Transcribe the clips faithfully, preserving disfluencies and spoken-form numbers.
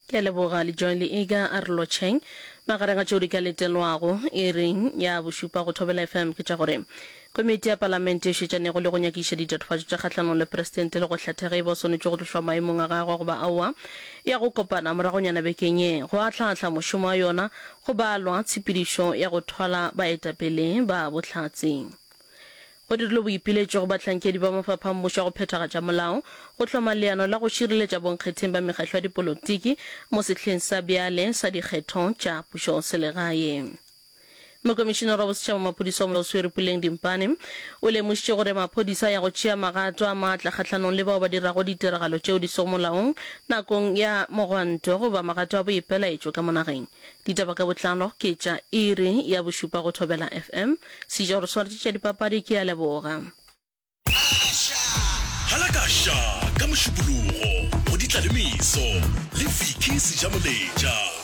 Ke a leboga le Joy le Iga a re lotšheng. Magareng a tšeo di ka letelwago iring ya bošupa go Thobela F M ke tša gore Komiti ya Palamente e šetšanego le go nyakišiša ditatofatšo tša kgahlanong le Presidente le go hlatha ge e ba o swanetše go tlošwa maemong a gagwe goba aowa ya go kopana moragonyana bekeng ye go ahlaahla mošomo wa yona go balwa tshepedišo ya go thwala baetapele ba bohlatse. Go dirilwe boipiletšo go bahlankedi ba mafapha a mmušo a go phethagatša molao go hloma leano la go šireletša bonkgetheng ba mekgahlo ya dipolotiki mo sehleng sa bjale sa dikgetho tša pušoselegae. Mokomišinara wa Bosetšhaba wa Maphodisa wa Moswere Puleng Dimpane o lemošitše gore maphodisa a ya go tšea magato a maatla kgahlanong le bao ba dirago ditiragalo tšeo di sego molaong nakong ya mogwanto goba magato a boipelaetšo ka mo nageng. Ditaba ka botlalo ke tša iri ya bošupa go Thobela F M. Seja gore swaretše tša dipapadi ke a leboga. Halakaša ka Mošupologo go Ditlalemeso le Vicky Sejamoletša.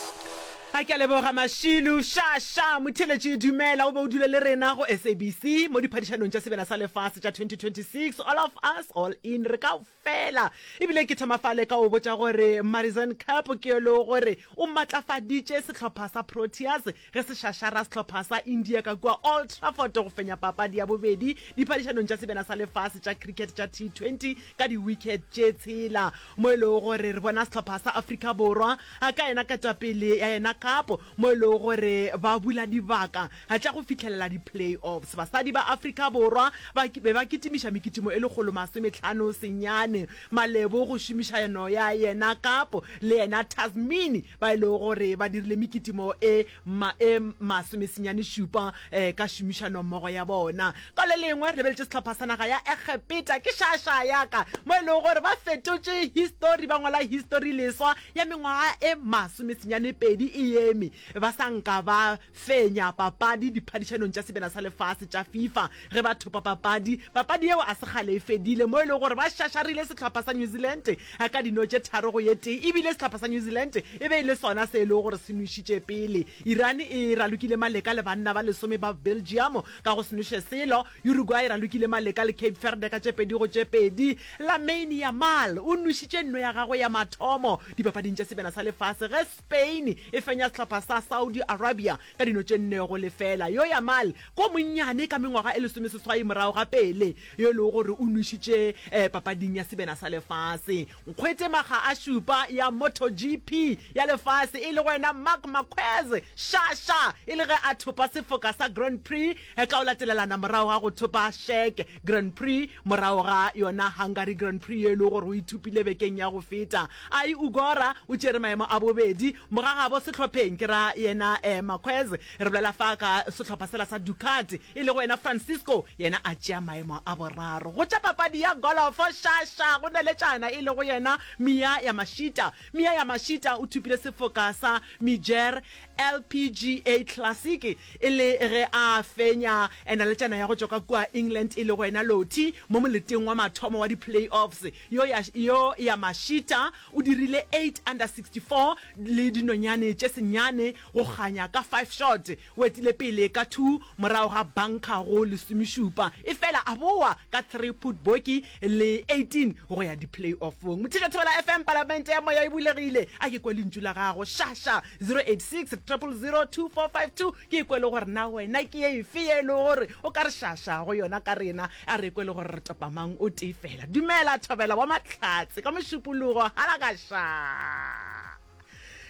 A ke a leboga Mašilu. Ša ša motheeletši dumela o be o dule le rena go S A B C mo diphadišanong tša Sebjana sa Lefase tša twenty twenty-six, All of Us All In, re ka fela ebile ke thoma fale ka o botša gore Marizanne Kapp ke yo le gore o matlafaditše sehlopha sa Proteas ge se šašara sehlopha sa India ka kua Old Trafford go fenya papadi ya bobedi diphadišanong tša Sebjana sa Lefase tša cricket tša T twenty ka di-wicket tše tshela, mo e lego gore re bona sehlopha sa Afrika Borwa ka yena ketapele ya yena Kapp mo e lego gore ba bula dibaka tša go fihlelela di-playoffs. Basadi ba Afrika Borwa ba be ba kitimiša mekitimo e lekgolo masometlhano senyane malebo go šomišano ya yena Kapp le yena Tasmini ba e lego gore ba dirile mekitimo e ma e masomesenyane šupa um ka šomišano mmogo ya bona. Ka le lengwe re lebeletše sehlopha sa naga ya Egepeta ke šaša yaka mo e lego gore ba fetotše history, ba ngwala history leswa ya mengwaga e masomesenyane pedi e eme ba sa nka ba fenya papadi diphadišanong tša Sebjana sa Lefase tša FIFA ge ba thopa papadi. Papadi yeo a se kgale e fedile mo e lego gore ba šašarile sehlopha sa New Zealand ka dino tše tharo go ye tee, ebile sehlopha sa New Zealand e be e le sona se e lego gore se nwešitše pele. Iran e ralokile maleka le banna ba lesome ba Belgium ka go se nweše selo. Uruguay e ralokile maleka le Cape Verde ka tše pedi go tše pedi. Lamine Yamal o nwešitše nno ya gagwe ya mathomo dipapading tša Sebjana sa Lefase ge Spain e fenya sehlopha sa Saudi Arabia ka dino tše nne go lefela. Yo Yamal ko monnyane ka mengwaga e lesomeseswai morago ga Pele yo e lego gore o nwešitše papading ya Sebjana sa Lefase. Nkgwete makga a šupa ya MotoGP ya lefase e lego yena Marc Marquez ša ša e le ge a thopa sefoka sa Grand Prix ka o latelelana morago ga go thopa Czech Grand Prix morago ga yona Hungary Grand Prix ye e lego gore o ithopile bekeng ya go feta. Ai Ogura o tšere maemo a bobedi mogagabo sehlopheng ke ra yena Marquez, re bolela fa ka sehlopha sela sa Ducati, e lego yena Francisco yena a tšea maemo a boraro. Go tša papadi ya golofo ša ša go neletšana e lego yena Miya Yamashita. Miya Yamashita o thopile sefoka sa Major L P G A Classic e le ge a fenya naletšana ya go tšwa ka kua England e lego yena Lottie mo moleteng wa mathomo wa di-playoffs. Yo ya yo Yamashita o dirile eight under sixty-four le dinonyane tše senyane go kganya ka five shot. O etile pele ka two morago ga bunker go lesomešupa, efela a boa ka three put bogey le eighteen go ya di-playoffong. Mothiša Thobela F M, Palamente ya Moya e bulegile. A ke kwe lentšu la gago ša ša zero eight six, triple zero, two four five two, ke kwe le gore na wena ke efe ye e le gore o ka re ša ša go yona ka rena. A re kwe le gore re topa mang o tee fela. Dumela Thobela wa Mahlatse ka Mošupologo halakaša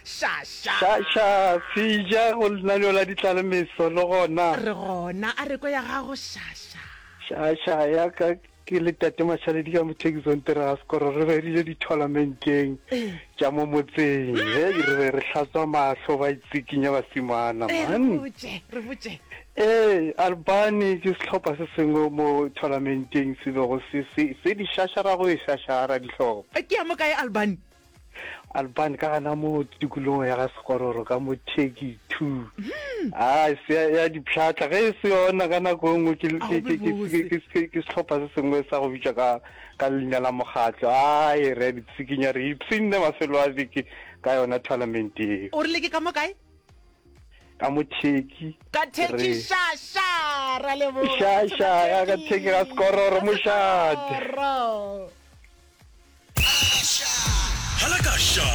ša ša. Ša ša seja go lenaneo la ditlalemeso le gona. Re gona, a re kwe ya gago ša ša. Ša ša ya ka ke le tate Mašaledi ka mothekisong tere ga sekoro re be rile di-tournamenteng tša mo motseng hei re be re hlatswa mahlo ba itsikinya basimana ee re man. Botše re botše. Ee, Albany ke sehlopha se sengwe mo tournamenteng se bego se se se di šašara go e šašara dihlopha. Ke ya mo kae Albany? Albany ka gana mo tikologong ya ga Sekororo ka mo Turkey two a se ya dipšhatla ge e se yona ka nako e nngwe ke A ke go ke be ke bose. ke ke ke sehlopha se sengwe sa go bitšwa ka ka leina la mokgatlo ai re a di tsikinya re ipshinne mafelo a beke ka yona tournament eo. O rile ke ka mo kae? Ka mo Turkey. Ka Turkey. Re ša ša ra leboga. Ša ša ya ka Turkey ga Sekororo mošate. Sekororo. Halakaša.